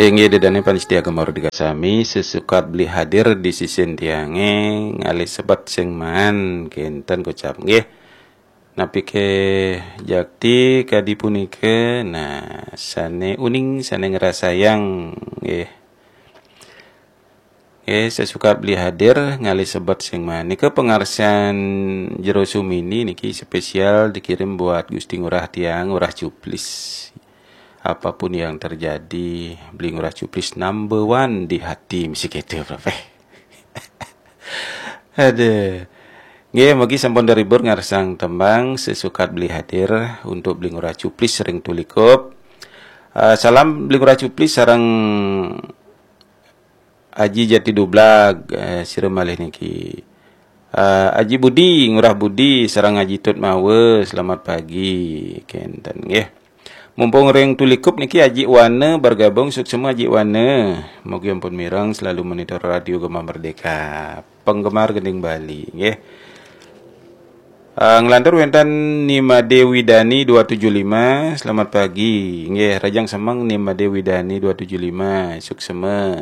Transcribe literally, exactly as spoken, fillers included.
Inggih, ida dané pamiarsa Gema Merdeka sami, sesukat beli hadir di sisin tiangé, ngalih sebat sing maan, kénten kocap nggih. Napi ké jakti kadi punika, nah, sané uning, sané ngrasayang nggih. Nggih, sesukat beli hadir, ngalih sebat sing maan. Nika pangarsan Jero Sumini niki spesial dikirim buat Gusti Ngurah tiang, Ngurah Cuplis. Apapun yang terjadi, beli Ngurah Cuplis number one di hati, mesti kéto, Prof. Aduh. Nggih, mugi sampun terhibur ngarsang tembang sesukat beli hadir untuk beli Ngurah Cuplis ring Tulikup. Eh, salam beli Ngurah Cuplis sareng Aji Jati Dublag, eh, sira malih niki. Eh, Aji Budi, Ngurah Budi, sareng Aji Tut Mawe, selamat pagi, kénten nggih. Mumpung ring Tulikup niki Aji Wana bergabung, suksma Aji Wana. Mugi ampun mireng selalu monitor Radio Gema Merdeka. Penggemar Gending Bali, nggih. Eh, nglantur wénten Nimade Widani dua tujuh lima, selamat pagi. Nggih, rahajeng semeng Nimade Widani dua tujuh lima, suksma.